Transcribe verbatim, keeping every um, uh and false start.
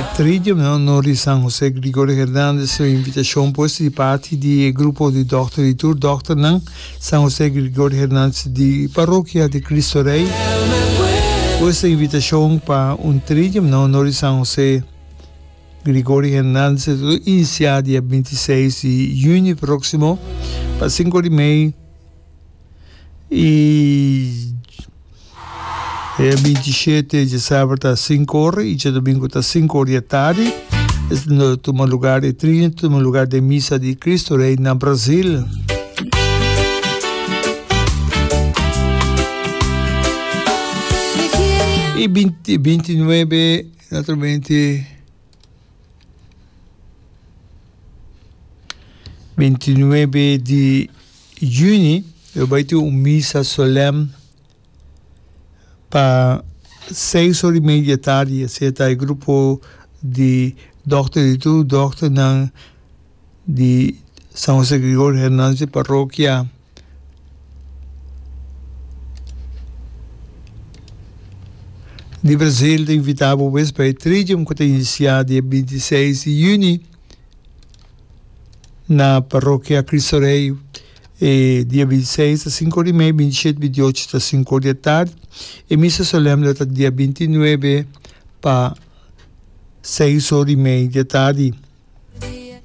E Tridium na honor di San Jose Gregorio Hernandez su invitacion pues di parti di e grupo di dokter di tur dokternan San Jose Gregorio Hernandez di Parokia di Cristo Rey. Pues e invitacion pa un Tridium na honor di San Jose Gregorio Hernandez lo inicia dia binti seis di juni proximo pa cinco di mei y e binti shete djasaber ta sinku ora y djadomingo ta sinku ora di atardi. Es lo tuma lugar, e trinta ta tuma lugar den misa di Cristo Rey na Brazil. Y binti, binti nuebe, naturalmente, binti nuebe di juni, lo bai tin un misa solem pa seis ora y media tardi. Asina ta e grupo di dokter di tur dokternan di San Jose Gregorio Hernandez di parokia di Brazil ta invita bo pues pa e tridium ku ta inisiá dia binti seis di yüni na parokia Cristo Rey. E dia binti seis ta sinku ora i mei, binti shete, binti ocho ta sinku ora di atardi. E misa solem lo ta dia binti nuebe pa seis ora i mei di atardi.